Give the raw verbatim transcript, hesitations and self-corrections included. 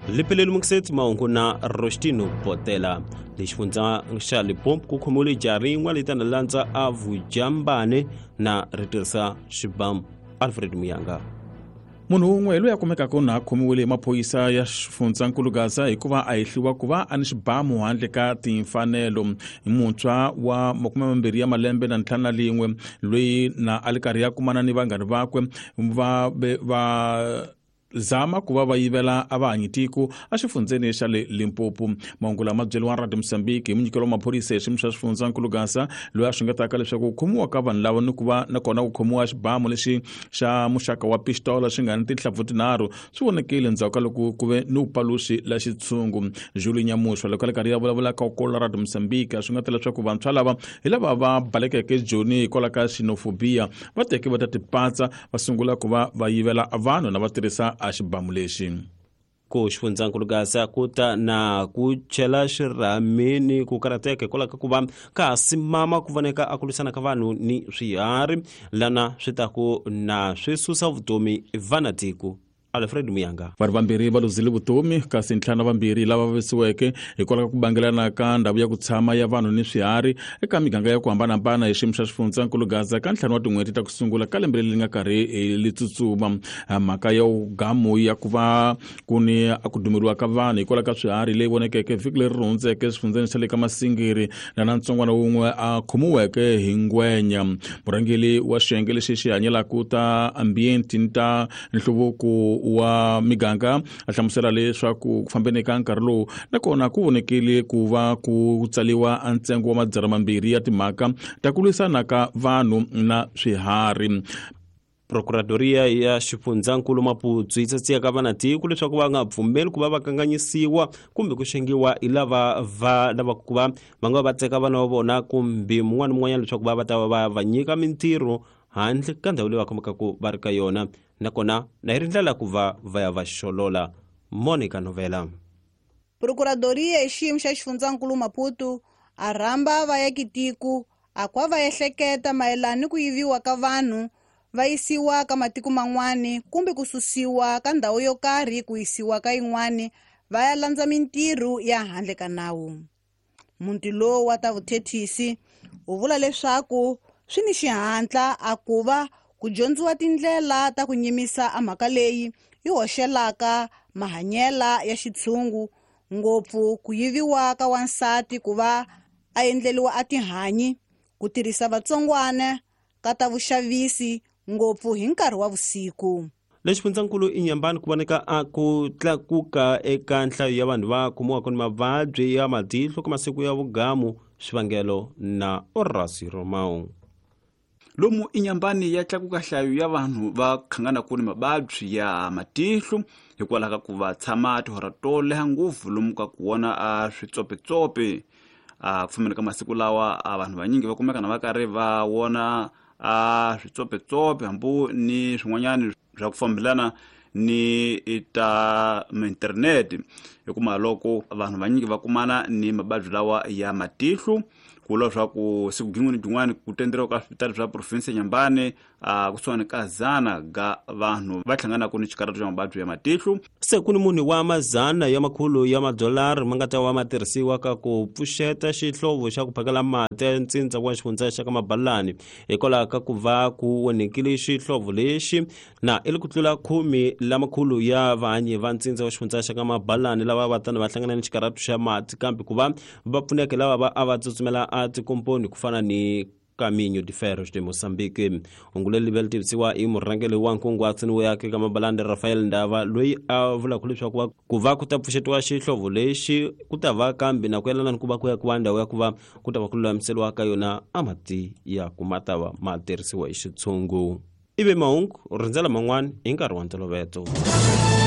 Lipheleli Muksetsi mahungu na Rostino Potela. Lexifundza xa Limpopo ku khomiwile jaha rin'we leri tana landza a vujambane na ri tirhisa xibamu. Alfred Muyanga. Munhu wun'we loyi a kumekaka na a khomiwile hi maphorisa ya xifundzankulu Gaza hikuva a hehliwa ku va a ni xibamu handle ka timfanelo. Hi muntshwa wa makume mambirhi ya malembe na ntlhanu na lin'we loyi na a li karhi ya kumana ni vanghani vakwe va va zama ku va va yivela a va hanyi tiko exifundzeni xa le Limpopo. Mahungu lama byeriwa Radio Mozambique hi munyikelo wa maphorisa hi xiyimo xa xifundzankulu Gaza loyi a xungetaka leswaku ku khomiwa ka vanhu lava ni ku va nakona ku khomiwa xibamu lexi xa muxaka wa pistola xi nga ni tinhlampfu tinharhu swi vonekile endzhaku ka loko ku ve ni vupaluxi la xitshungu. Julie Nyamushwa loko a le karhi ya vulavula ka kola Radio Mozambique a xungeta leswaku vantshwa lava hi lava va balekeke Joni hikwalaho ka xenophobia va teke va ta tipatsa va sungula ku va va yivela vanhu na va tirhisa a xibamu lexi. Ku xifundzankulu Gaza ku ta na ku chela xirhamini ku karhateka hikwalaho ka ku va ka ha simama ku voneka a ku lwisana ka vanhu ni swiharhi lana swi ta ku na swi susa vutomi vana tiko. Alfred Muyanga. Vanhu vambirhi va luzile vutomi kasi ntlhanu vambirhi lava vavisiweke hikwalaho ka ku bangelana ka ndhawu ya ku tshama ya vanhu ni swiharhi eka miganga ya ku hambanahambana hi xiyimo xa xifundzankulu Gaza ka ntlhanu wa tin'hweti ta ku sungula ka lembe leri nga karhi li tsutsuma. Mhaka ya gamu ya ku va ku ni a ku dumeriwa ka vanhu hikwalaho ka swiharhi leyi vonekeke vhiki leri hundzeke exifundzeni xa le ka Masingiri na na ntsongwana wun'we a khomiweke hi ngwenya. Murhangeri wa xiyenge lexi xi hanyelaka ta ambient ni ta nhluvuko wa miganga a hlamusela leswaku ku fambeni ka nkarhi lowu nakona ku vonekile ku va ku tsaliwa a ntsengo wa madzana mambirhi ya timhaka ta ku lwisana ka vanhu na swiharhi. Procuradoria ya xifundzankulu Maputo yi tsatsiya ka vanatiko leswaku va nga pfumeli ku va va kanganyisiwa kumbe ku xengiwa hi lava va lavaka ku va va nga va teka vana va vona kumbe mun'wana mun'wanyana leswaku va va ta va va nyika mintirho handle ka ndhawu leyi va kumekaka va ri ka yona nakona na yi ri ndlela ku va va ya va xolola. Monica Novela. Procuradoria hi xiyimo xa xifundzankulu Maputo a rhamba vaakitiko a kwa va ehleketa mayelana ni ku yiviwa ka vanhu va yisiwa ka matiko man'wani kumbe ku susiwa ka ndhawu yo karhi ku yisiwa ka yin'wani va ya landza mintirho ya handle ka nawu. Muti lowu wa ta vuthethisi u vula leswaku swi ni xihatla a ku va ku dyondziwa tindlela ta ku nyimisa a mhaka leyi yi hoxelaka mahanyela ya xitshungu ngopfu ku yiviwa ka wansati ku va a endleriwa a tihanyi ku tirhisa vatsongwana ka ta vuxavisi ngopfu hi nkarhi wa vusiku. Lexifundzankulu Inyambani ku voneka a ku tlakuka eka nhlayo ya vanhu va kumiwaka ni mavabyi ya matihlo ka masiku ya vugamu swivangelo na Orasi Romao. Lomu Inyambani ya tlakuka nhlayo ya vanhu va khanganaka ni mavabyi ya matihlo hikwalaho ka ku va tshama tihora to leha ngopfu lomu ka ku vona a switsopetsope. A ku fambeni ka masiku lawa a vanhu vanyingi va kumeka na va karhi va vona a switsopetsope hambi ni swin'wanyana swa ku fambelana ni ta internet hikuma loko vanhu vanyingi va kumana ni mavabyi lawa ya matihlo ku vula leswaku siku gin'we ni gin'wana ku tenderiwa ka swipitali swa province ya Nyambani a kusuhani ka zana ga vanhu va hlanganaka ni xikarhato xa mavabyi ya matihlo. Se ku ni munhu wa mazana ya makhulu ya madolari ma nga ta va ma tirhisiwa ka ku pfuxeta xihlovo xa ku phakela mati ya ntsindza wa xifundza xa ka Mabalani hikwalaho ka ku va ku onhekile xihlovo lexi na i li ku tlula khume lamakhulu ya vahanyi va ntsindza wa xifundza xa ka Mabalani lava va tani va hlangana ni xikarhato xa mati kambe ku va va pfuneka lava va a va tsutsumela a tikomponi ku fana ni Caminho de Ferros de Moçambique. Hungu leri tivisiwa hi murhangeri wa nkunguhato wo yaka eka Mabalani Rafael Ndava loyi a vulaka leswaku ku va ku ta pfuxetiwa xihlovo lexi ku ta va kambe na ku yelana ni ku va ku yakiwa ndhawu ya ku va ku ta va ku lulamiseriwa ka yona a mati ya ku ma ta va ma tirhisiwa hi xitshungu. Ivi mahungu rindzela man'wana hi nkarhi wa ntolovelo.